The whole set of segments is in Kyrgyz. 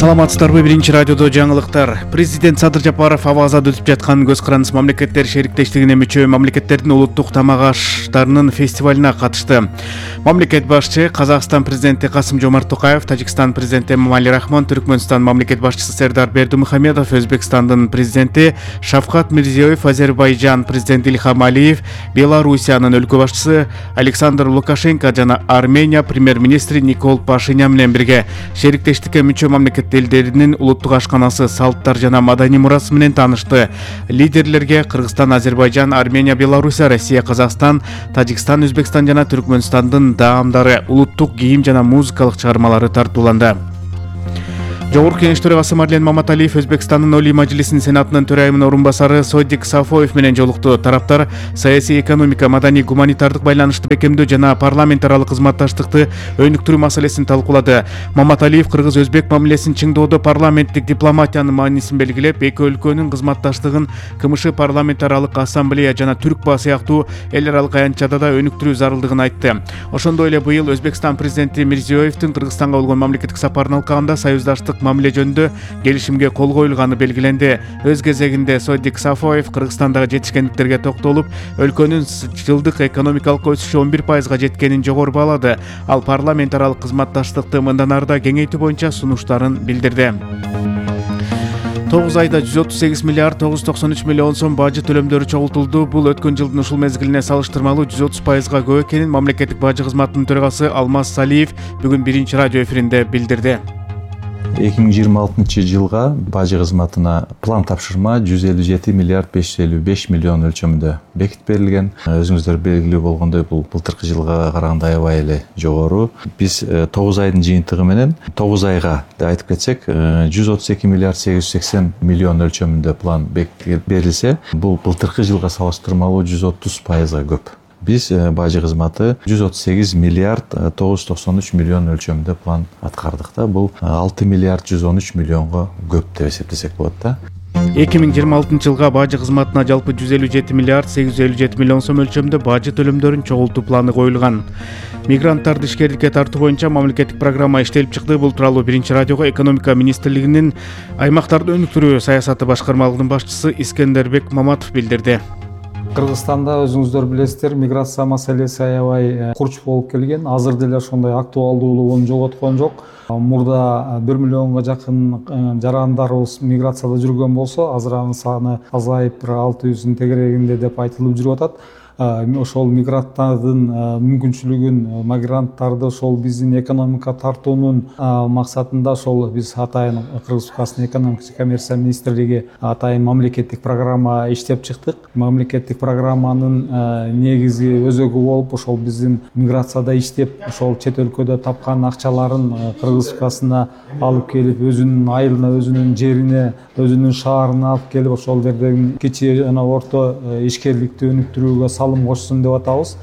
Саламатсыздарбы? Биринчи радиодо жаңылыктар. Президент Садыр Жапаров Абазада өтүп жаткан Көз карандыс мамлекеттер шериктештигине мүчө мамлекеттердин улуттук тамак аштарынын фестивалына катышты. Мамлекет башчы Казакстан президенти Касым-Жомарт Токаев, Тажикстан президенти Эмомали Рахмон, Түркмөнстан мамлекет башчысы Сердар Бердимухамедов, Өзбекстандын президенти Шавкат Мирзиёев, Азербайжан президенти Ильхам Алиев, Белоруссиянын өлкө башчысы Александр Лукашенко жана Армения премьер-министри Никол Пашинян менен бирге шериктештикке мүчө мамлекет элдеринин улуттук ашканасы, салттар жана маданий мурасы менен таанышты. Лидерлерге Кыргызстан, Азербайжан, Армения, Белоруссия, Россия, Казакстан, Тажикстан, Өзбекстан жана Түркмөнстандын даамдары, улуттук кийим жана музыкалык чыгармалары тартууланды. Жогорку Кеңеш төрагасы Марлен Маматалиев Өзбекстандын Олий Мажлисинин Сенатынын төрайымынын орун басары Содик Сафоев менен жолукту. Тараптар саясий, экономика, маданий, гуманитардык байланышты бекемдөө жана парламент аралык кызматташтыкты өнүктүрүү маселесин талкуулады. Маматалиев кыргыз-өзбек мамилесин чыңдоодо парламенттик дипломатиянын маанисин белгилеп, эки өлкөнүн кызматташтыгын КМШ парламент аралык ассамблея жана Түркба сыяктуу эл аралык аянтчада да өнүктүрүү зарылдыгын айтты. Ошондой эле быйыл Өзбекстан президенти Мирзиёевдин Кыргызстанга болгон мамлекеттик сапарын алкагында союздаштык мамиле жөнүндө келишимге кол коюлганы белгиленди. Өз кезегинде Содик Сафоев Кыргызстандагы жетишкендиктерге токтолуп, өлкөнүн жылдык экономикалык өсүшү 11%га жеткенин жогору баалады. Ал парламент аралык кызматташтыкты мындан ары да кеңейтүү боюнча сунуштарын билдирди. 9 айда 138 миллиард 993 миллион сом бажы төлөмдөрү чогултулду. Бул өткөн жылдын ушул мезгилине салыштырмалуу 130%га көп экенин мамлекеттик бажы кызматынын төрагасы Алмаз Салиев бүгүн биринчи радио эфиринде билдирди. 2026 жылга бажы кызматына план тапшырма 157 миллиард 555 миллион өлчөмүндө бекитип берилген. Өзүңүздөр белгилүү болгондой, бул былтыркы жылга караганда аябай эле жогору. Биз 9 айдын жыйынтыгы менен 9 айга деп айтып кетсек, 132 миллиард 880 миллион өлчөмүндө план бекитип берилсе, бул былтыркы жылга салыштырмалуу 130%га көп. Биз бажы кызматы 138 миллиард 993 миллион өлчөмүндө план аткардык да. Бул 6 миллиард 113 миллионго көп деп эсептесек болот да. 2026 жылга бажы кызматына жалпы 157 миллиард 857 миллион сом өлчөмдө бажы төлөмдөрүн чогултуу планы коюлган. Мигранттарды ишкерликке тартуу боюнча мамлекеттик программа иштелип чыкты. Бул тууралуу биринчи радиого экономика министрлигинин аймактарды өнүктүрүү саясаты башкармалыгынын башчысы Искендербек Маматов билдирди. Кыргызстанда өзүңүздөр билесиздер, миграция маселеси аябай курч болуп келген. Азыр деле ошондой актуалдуулугун жоготкон жок. Мурда 1 миллионго жакын жарандарыбыз миграцияда жүргөн болсо, азыр анын саны азайып 600-дин тегерегинде деп айтылып жүрүп атат. Ошол мигранттардын мүмкүнчүлүгүн, мигранттарды ошол биздин экономика тартуунун максатында ошол биз атайын Кыргыз Республикасынын экономика жана коммерция министрлиги атайын мамлекеттик программа иштеп чыктык. Мамлекеттик программанын негизи өзөгү болуп, ошол биздин миграцияда иштеп, ошол чет өлкөдө тапкан акчаларын Кыргыз Республикасына алып келип, өзүнүн айылына, өзүнүн жерине, өзүнүн шаарына алып келип, ошол жерден кичи жана орто ишкерликти өнүктүрүүгө салым кошсун деп атабыз.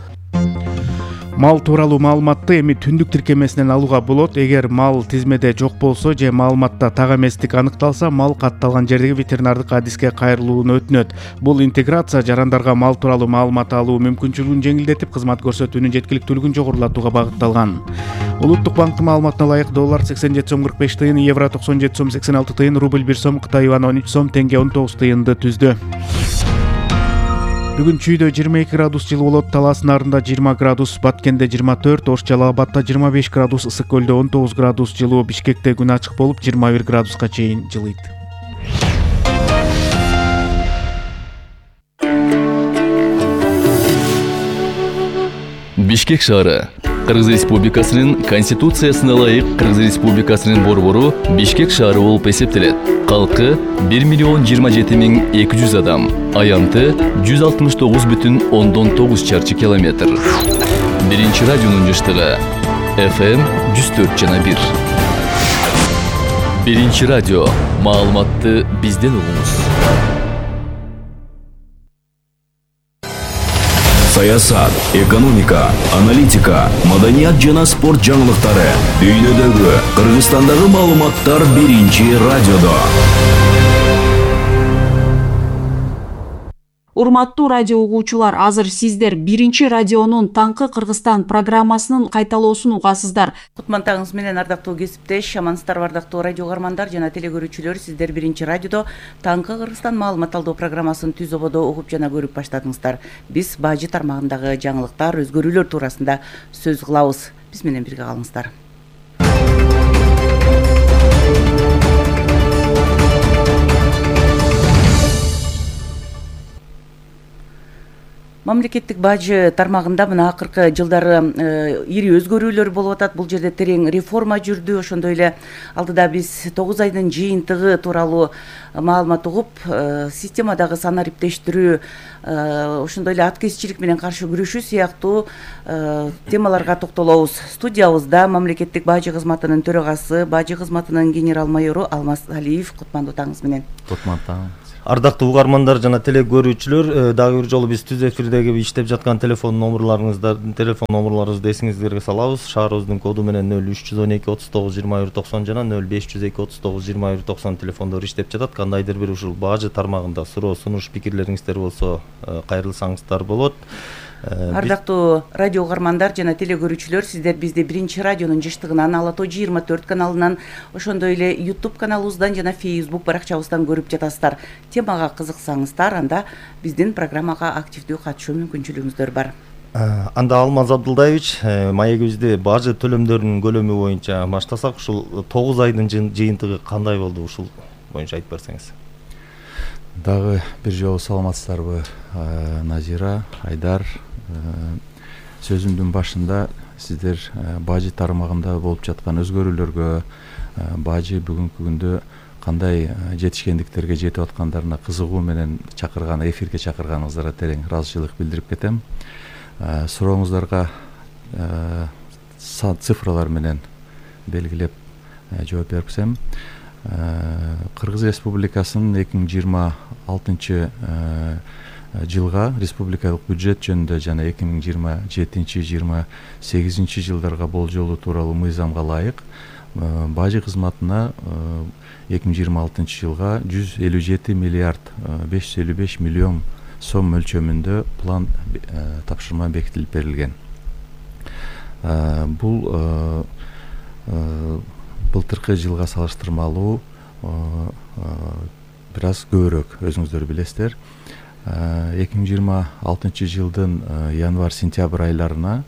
Мал тууралуу маалыматты эми түндүк тиркемесинен алууга болот. Эгер мал тизмеде жок болсо же маалыматта так эместик аныкталса, мал катталган жердеги ветеринардык адиске кайрылууну өтүнөт. Бул интеграция жарандарга мал тууралуу маалымат алуу мүмкүнчүлүгүн жеңилдетип, кызмат көрсөтүүнүн жеткиликтүүлүгүн жогорулатууга багытталган. Улуттук банктын маалыматына ылайык доллар 87 сом 45 тыйын, евро 97 сом 86 тыйын, рубль 1 сом, Кытай юаны 13 сом, теңге 19 тыйынды түздү. Бүгүн Чүйдө 22 градус жылы болот, Талас Нарында 20 градус, Баткенде 24, Ош Жалал Абадта 25 градус, Ысык Көлдө 19 градус жылуу, Бишкекте күн ачык болуп 21 градуска чейин жылыйт. Бишкек шаары Кыргыз Республикасынын Конституциясына ылайык Кыргыз Республикасынын борбору Бишкек шаары болуп эсептелет. Калкы 1,027,200 адам, аянты 169,9 чарчы километр. Биринчи радионун жыштыгы FM 104,1. Биринчи радио, маалыматты бизден угуңуз. Саясат, экономика, аналитика, маданият жана спорт жаңылыктары. Дүйнөдөгү, Кыргызстандагы маалыматтар биринчи радиодо. Урматтуу радио угуучулар, азыр сиздер биринчи радионун Таңкы Кыргызстан программасынын кайталоосун угасыздар. Кутмандыгыңыз менен ардактуу кесиптеш, амансыздарбы ардактуу радио угармандар жана телекөрүүчүлөр. Сиздер биринчи радиодо Таңкы Кыргызстан маалымат алуу программасын түз ободо угуп жана көрүп баштадыңыздар. Биз бажы тармагындагы жаңылыктар, өзгөрүүлөр туурасында сөз кылабыз. Биз менен бирге калыңыздар. Мамлекеттик бажы тармагында мына акыркы жылдары ири өзгөрүүлөр болуп атат. Бул жерде терең реформа жүрдү. Ошондой эле алдыда биз 9 айдын жыйынтыгы тууралуу маалымат угуп, системадагы санариптештирүү, ошондой эле аткезчилик менен каршы күрөшүү сыяктуу темаларга токтолобуз. Студиябызда мамлекеттик бажы кызматынын төрагасы, бажы кызматынын генерал-майору Алмаз Алиев. Кутмандуу таңыңыз менен. Кутмандуу таң. Ардактуу угармандар жана телекөрүүчүлөр, дагы бир жолу биз түз эфирдеги иштеп жаткан телефон номурларыбызды эсиңиздерге салабыз. Шаарыбыздын коду менен 0312 39 21 90 жана 0502 39 21 90 телефондору иштеп жатат. Кандайдыр бир ушул бажы тармагында суроо, сунуш, пикирлериңиздер болсо кайрылсаңыздар болот. Ардактуу радио угармандар жана телекөрүүчүлөр, сиздер бизди биринчи радионун жыштыгынан, Ала Тоо 24 каналынан, ошондой эле YouTube каналыбыздан жана Facebook баракчабыздан көрүп жатасыздар. Темага кызыксаңыздар, анда биздин программага активдүү катышуу мүмкүнчүлүгүңүздөр бар. Анда Алмаз Абдулдаевич, маегибизди бажы төлөмдөрүнүн көлөмү боюнча баштасак, ушул 9 айдын жыйынтыгы кандай болду, ушул боюнча айтып берсеңиз. Дагы бир жолу саламатсыздарбы, Назира, Айдар. Сөзүмдүн башында сиздер бажы тармагында болуп жаткан өзгөрүүлөргө, бажы бүгүнкү күндө кандай жетишкендиктерге жетип аткандарына кызыгуу менен эфирге чакырганыңыздарга терең ыраазычылык билдирип кетем. Сурооңуздарга цифралар менен белгилеп жооп берсем, Кыргыз Республикасынын 2026 жылга республикалык бюджет жөнүндө жана 2027-28 жылдарга болжолу тууралуу мыйзамга ылайык бажы кызматына 2026 жылга 157 миллиард 555 миллион сом мөлчөмүндө план тапшырма бекитилип берилген. Бул былтыркы жылга салыштырмалуу бир аз көбүрөөк, өзүңүздөр билесиздер. 2026 жылдын январь-сентябрь айларына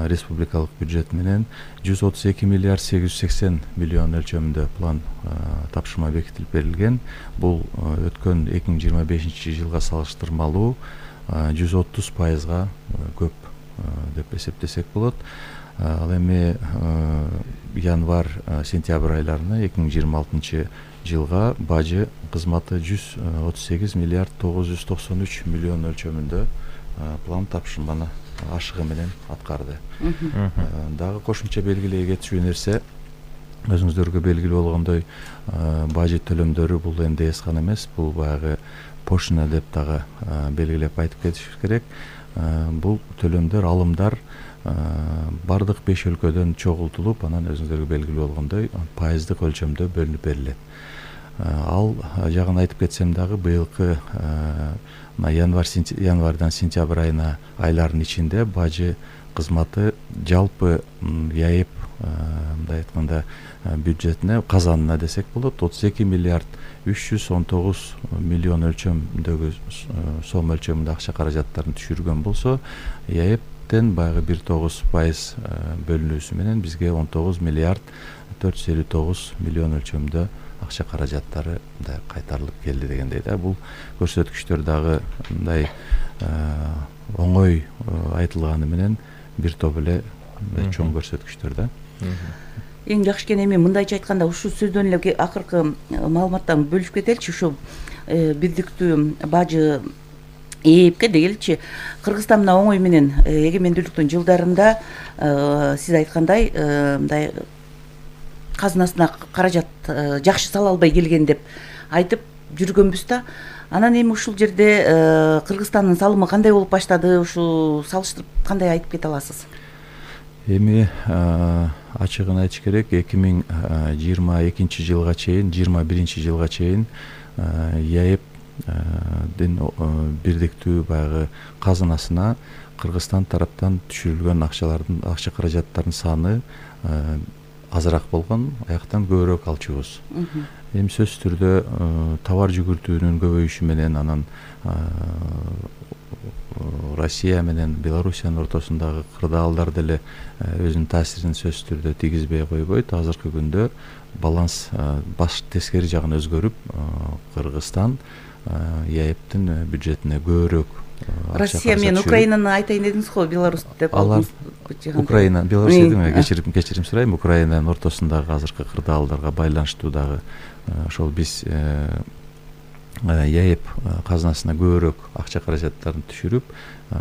республикалык бюджет менен 132 миллиард 880 миллион өлчөмүндө план тапшырма бекитилип берилген. Бул өткөн 2025 жылга салыштырмалуу 130%га көп деп эсептесек болот. Ал эми январь-сентябрь айларына 2026 жылга бажы кызматы 138 миллиард 993 миллион өлчөмүндө план тапшырманы ашыгы менен аткарды. Дагы кошумча белгилей кетчү нерсе, өзүңүздөргө белгилүү болгондой, бажы төлөмдөрү бул НДС гана эмес, бул баягы пошлина деп дагы белгилеп айтып кетиш керек. Бул төлөмдөр, алымдар бардык 5 өлкөдөн чогултулуп, анан өзүңүздөргө белгилүү болгондой пайыздык өлчөмдө бөлүнүп берилет. Ал жагын айтып кетсем дагы, быйылкы январдан сентябрь айына айларынын ичинде бажы кызматы жалпы ЯЭП мындай айтканда бюджетине, казанына десек болот, 32 миллиард 319 миллион өлчөмдөгү сом өлчөмүндө акча каражаттарын түшүргөн болсо, ЯЭПтен баягы 1,9% бөлүнүүсү менен бизге 19 миллиард 459 миллион өлчөмдө акча каражаттары кайтарылып келди дегендей да. Бул көрсөткүчтөр дагы мындай оңой айтылганы менен бир топ эле чоң көрсөткүчтөр да. Эң жакшы экен, эми мындайча айтканда, ушул сөздөн эле акыркы маалыматтан бөлүшүп кетеличи. Ушу бирдиктүү бажы ээпке дегеличи, Кыргызстан мына оңой менен эгемендүүлүктүн жылдарында сиз айткандай мындай казынасына каражат жакшы сала албай келген деп айтып жүргөнбүз да. Анан эми ушул жерде Кыргызстандын салымы кандай болуп баштады, ушу салыштырып кандай айтып кете аласыз? Эми ачыгын айтыш керек, 2022 жылга чейин, 21 жылга чейин ЯЭП бирдиктүү баягы казынасына Кыргызстан тараптан түшүрүлгөн акча каражаттардын саны азыраак болгон, аяктан көбүрөөк алчубуз. Эми сөзсүз түрдө товар жүгүртүүнүн көбөйүшү менен анан Россия менен Белоруссиянын ортосундагы кырдаалдар деле өзүнүн таасирин сөзсүз түрдө тийгизбей койбойт. Азыркы күндө баланс баш тескери жагына өзгөрүп, Кыргызстан ЕАЭБтин бюджетине көбүрөөк Россия менен Украинаны айтайын дедиңиз го, Беларусь деп алар Украина, Беларусь дедим, кечирим сурайм, Украинанын ортосундагы азыркы кырдаалдарга байланыштуу дагы ошол биз ЕАЭБ казынасына көбүрөөк акча каражаттарын түшүрүп,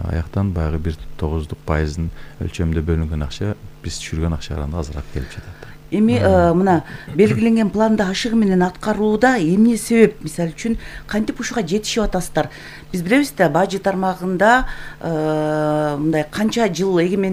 аяктан баягы 1,9% өлчөмүндө бөлүнгөн акча биз түшүргөн акчага караганда азыраак келип жатат. Эми мына белгиленген планды ашыгы менен аткарууда эмне себеп? Мисалы үчүн кантип ушуга жетишип атасыздар? Биз билебиз да, бажы тармагында мындай канча жыл эгемендик